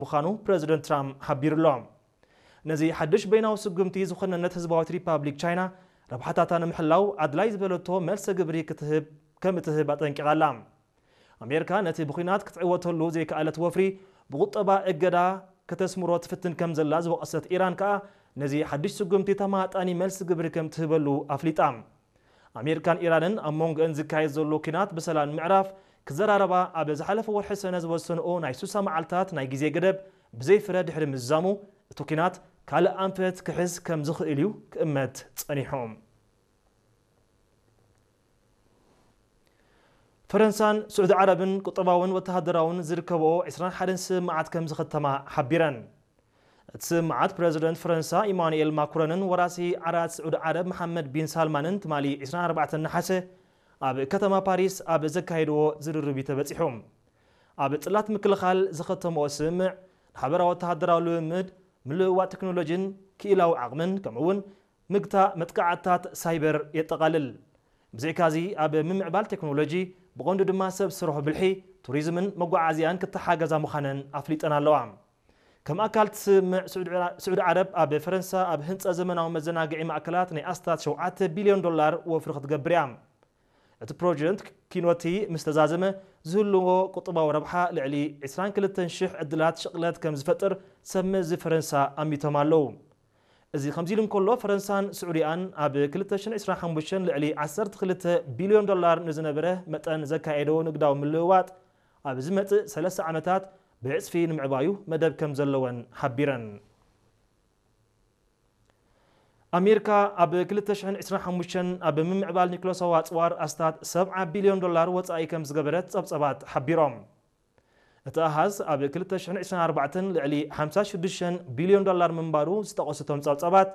ምዃኑ ፕረዚደንት ትራምፕ ሓቢሩ ኣሎ። ነዚ ሓድሽ በይናዊ ስጉምቲ ዝኾነነት ህዝባዊት ሪፓብሊክ ቻይና ረብሓታታ ንምሕላው ኣድላይ ዝበለቶ መልሰ ግብሪ ክትህብ ከም እትህብ ኣጠንቂቓ ኣላ። ኣሜሪካ ነቲ ብኲናት ክትዕወተሉ ዘይከኣለት ወፍሪ ብቁጠባ እገዳ ከተስምሮ ትፍትን ከም ዘላ ዝወቐሰት ኢራን ከኣ ነዚ ሓድሽ ስጉምቲ ተማጣኒ መልሲ ግብሪ ከም ትህበሉ ኣፍሊጣ። ኣሜሪካን ኢራንን ኣብ መንጎአን ዝካየድ ዘሎ ኲናት ብሰላም ንምዕራፍ ክዘራረባ ኣብ ዝሓለፈ ወርሒ ሰነ ዝወሰንኦ ናይ ሱሳ መዓልታት ናይ ግዜ ገደብ ብዘይ ፍረ ድሕሪ ምዝዛሙ እቲ ኲናት ካልእ ኣንፈት ክሕዝ ከም ዝኽእል እዩ ክእመት ጸኒሑ። ፈረንሳን ስዑዲ ዓረብን ቁጠባውን ወተሃደራውን ዝርከብኦ ዕስራን ሓደን ስምምዓት ከም ዝኸተማ ሓቢረን። እቲ ስምምዓት ፕረዚደንት ፈረንሳ ኢማኑኤል ማክሮንን ወራሲ ዓራት ስዑዲ ዓረብ መሓመድ ቢን ሳልማንን ትማሊ ዕስራን ኣርባዕተን ነሓሰ ኣብ ከተማ ፓሪስ ኣብ ዘካየድዎ ዝርርብ እዩ ተበጺሑ። ኣብ ጽላት ምክልኻል ዝኸተምኦ ስምምዕ ንሓበራዊ ወተሃደራዊ ልምምድ፣ ምልውዋጥ ቴክኖሎጂን ክኢላዊ ዓቕምን ከምኡ'ውን ምግታእ መጥቃዕትታት ሳይበር የጠቓልል። ብዘይካዚ ኣብ ምምዕባል ቴክኖሎጂ ብቐንዱ ድማ ሰብ ስርሑ ብልሒ፣ ቱሪዝምን መጓዓዝያን ክተሓገዛ ምዃነን ኣፍሊጠን ኣለዋ። ከም ኣካል እቲ ስምምዕ ስዑዲ ዓረ- ስዑዲ ዓረብ ኣብ ፈረንሳ ኣብ ህንጸት ዘመናዊ መዘናግዒ ማእከላት ናይ ኣስታት ሸውዓተ ቢልዮን ዶላር ወፍሪ ክትገብር እያ። እቲ ፕሮጀክት ኪኖቲ ምስ ተዛዘመ ዝህልዎ ቁጠባዊ ረብሓ ልዕሊ ዕስራን ክልተን ሽሕ ዕድላት ሽቕለት ከም ዝፈጥር ሰብ መዚ ፈረንሳ ኣሚቶም ኣለዉ። እዚ ከምዚ ኢሉ እንከሎ ፈረንሳን ስዑዲኣን ኣብ ክልተ ሽሕን ዕስራን ሓሙሽተን ልዕሊ ዓሰርተ ክልተ ቢልዮን ዶላር ንዝነበረ መጠን ዘካየደዎ ንግዳዊ ምልውዋጥ ኣብ ዝመጽእ ሰለስተ ዓመታት ብዕጽፊ ንምዕባዩ መደብ ከም ዘለወን ሓቢረን። ኣሜሪካ ኣብ ክልተ ሽሕን ዕስራን ሓሙሽተን ኣብ ምምዕባል ኒክሎሳዊ ኣጽዋር ኣስታት ሰብዓ ቢልዮን ዶላር ወጻኢ ከም ዝገበረት ጸብጸባት ሓቢሮም። እቲ ኣሃዝ ኣብ ክልተ ሽሕን ዕስራን ኣርባዕተን ልዕሊ ሓምሳ ሽዱሽተ ቢልዮን ዶላር ምንባሩ ዝጠቐሱ እቶም ጸብጸባት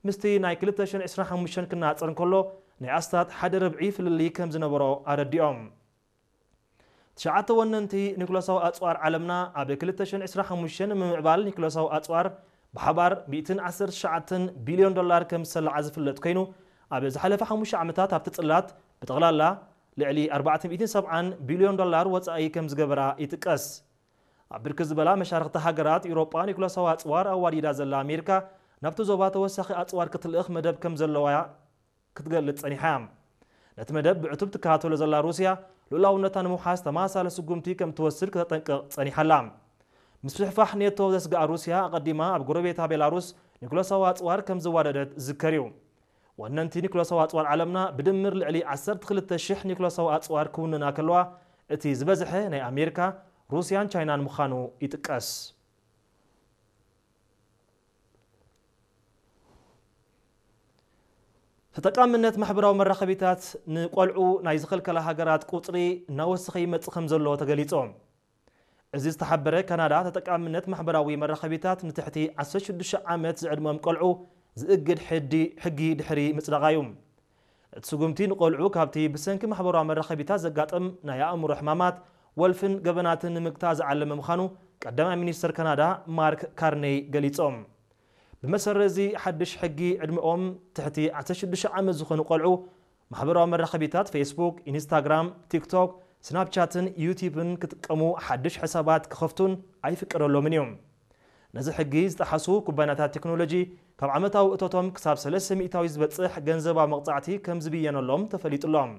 ምስቲ ናይ ክልተ ሽሕን ዕስራን ሓሙሽተን ክነጻጸር እንከሎ ናይ ኣስታት ሓደ ርብዒ ፍልልይ ከም ዝነበሮ ኣረዲኦም። ትሽዓተ ወነንቲ ኒክሎሳዊ ኣጽዋር ዓለምና ኣብ ክልተ ሽሕን ዕስራን ሓሙሽተን ንምምዕባል ኒክሎሳዊ ኣጽዋር ብሓባር ሚእትን ዓሰርተ ትሽዓተን ቢልዮን ዶላር ከም ዝሰልዓ ዝፍለጥ ኮይኑ ኣብ ዝሓለፈ ሓሙሽተ ዓመታት ኣብቲ ጽላት ብጠቕላላ ልዕሊ ኣርባዕተ ሚእትን ሰብዓን ቢልዮን ዶላር ወጻኢ ከም ዝገበራ ይጥቀስ። ኣብ ብርክት ዝበላ መሻርኽቲ ሃገራት ኤውሮጳ ኒክሎሳዊ ኣጽዋር ኣዋዲዳ ዘላ ኣሜሪካ ናብቲ ዞባ ተወሳኺ ኣጽዋር ክትልእኽ መደብ ከም ዘለዋ ክትገልጽ ጸኒሓ። ነቲ መደብ ብዕቱብ ትከታተሎ ዘላ ሩስያ ልኡላውነታ ንምውሓስ ተመሳሳሊ ስጉምቲ ከም ትወስድ ከተጠንቅቕ ጸኒሓ ኣላ። ምስፍሕፋሕ ኔቶ ዘስግኣ ሩስያ ኣቐዲማ ኣብ ጎረቤታ ቤላሩስ ኒኩለሳዊ ኣጽዋር ከም ዝዋደደት ዝዝከር እዩ። ወነንቲ ኒኩለሳዊ ኣጽዋር ዓለምና ብድምር ልዕሊ ዓሰርተ ክልተ ሽሕ ኒኩለሳዊ ኣጽዋር ክውንና ከለዋ እቲ ዝበዝሐ ናይ ኣሜሪካ፣ ሩስያን ቻይናን ምዃኑ ይጥቀስ። ተጠቃምነት ማሕበራዊ መራኸቢታት ንቆልዑ ናይ ዝኸልከላ ሃገራት ቁጽሪ እናወሰኸ ይመጽእ ከም ዘሎ ተገሊጹ። እዚ ዝተሓበረ ካናዳ ተጠቃምነት ማሕበራዊ መራኸቢታት ንትሕቲ ዓሰርተ ሽዱሽተ ዓመት ዝዕድመም ቆልዑ ዝእግድ ሕዲ ሕጊ ድሕሪ ምጽዳቓ እዩ። እቲ ስጉምቲ ንቆልዑ ካብቲ ብሰንኪ ማሕበራዊ መራኸቢታት ዘጋጥም ናይ ኣእምሮ ሕማማት፣ ወልፍን ገበናትን ንምግታእ ዝዓለመ ምዃኑ ቀዳማይ ሚኒስተር ካናዳ ማርክ ካርኔይ ገሊጾም። ብመሰረት እዚ ሓድሽ ሕጊ ዕድመኦም ትሕቲ ዓሰርተ ሽዱሽተ ዓመት ዝኾኑ ቆልዑ ማሕበራዊ መራኸቢታት ፌስቡክ፣ ኢንስታግራም፣ ቲክቶክ፣ ስናፕቻትን ዩቲዩብን ክጥቀሙ ሓድሽ ሕሳባት ክኸፍቱን ኣይፍቀደሎምን እዩ። ነዚ ሕጊ ዝጠሓሱ ኩባንያታት ቴክኖሎጂ ካብ ዓመታዊ እቶቶም ክሳብ ሰለስተ ሚእታዊ ዝበጽሕ ገንዘባዊ መቕጻዕቲ ከም ዝብየነሎም ተፈሊጡሎም።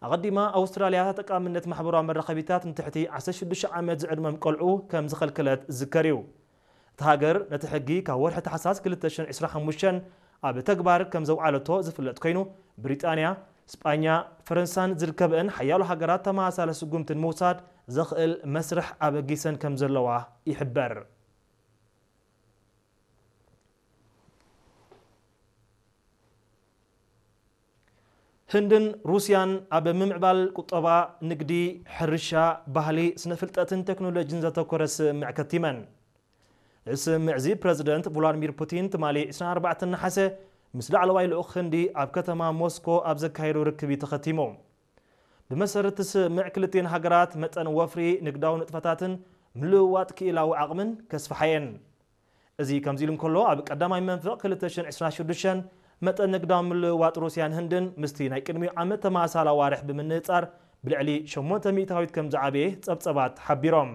ኣቐዲማ ኣውስትራልያ ተጠቃምነት ማሕበራዊ መራኸቢታት ንትሕቲ ዓሰርተ ሽዱሽተ ዓመት ዝዕድመም ቆልዑ ከም ዝኸልከለት ዝዝከር እዩ። እታ ሃገር ነቲ ሕጊ ካብ ወርሒ ታሕሳስ ክልተ ሽሕን ዕስራን ሓሙሽተን ኣብ ተግባር ከም ዘውዓለቶ ዝፍለጥ ኮይኑ፣ ብሪጣንያ፣ ስጳኛ፣ ፈረንሳን ዝርከበአን ሓያሎ ሃገራት ተመሳሳሊ ስጉምቲ ንምውሳድ ዘኽእል መስርሕ ኣበጊሰን ከም ዘለዋ ይሕበር። ህንድን ሩስያን ኣብ ምምዕባል ቁጠባ፣ ንግዲ፣ ሕርሻ፣ ባህሊ፣ ስነ ፍልጠትን ቴክኖሎጂን ዘተኮረ ስምምዕ ከቲመን። እዚ ስምምዕ እዚ ፕረዚደንት ቭላድሚር ፑቲን ትማሊ ዕስራን ኣርባዕተን ነሓሰ ምስ ላዕለዋይ ልኡኽ ህንዲ ኣብ ከተማ ሞስኮ ኣብ ዘካየዶ ርክብ እዩ ተኸቲሙ። ብመሰረት እቲ ስምምዕ ክልቲኤን ሃገራት መጠን ወፍሪ፣ ንግዳዊ ንጥፈታትን ምልውዋጥ ክኢላዊ ዓቕምን ከስፍሓየን። እዚ ከምዚ ኢሉ እንከሎ ኣብ ቀዳማይ መንፈቕ ክልተ ሽሕን ዕስራን ሽዱሽተን መጠን ንግዳዊ ምልውዋጥ ሩስያን ህንድን ምስቲ ናይ ቅድሚኡ ዓመት ተመሳሳሊ ኣዋርሕ ብምንጻር ብልዕሊ ሸሞንተ ሚእታዊት ከም ዝዓበየ ጸብጸባት ሓቢሮም።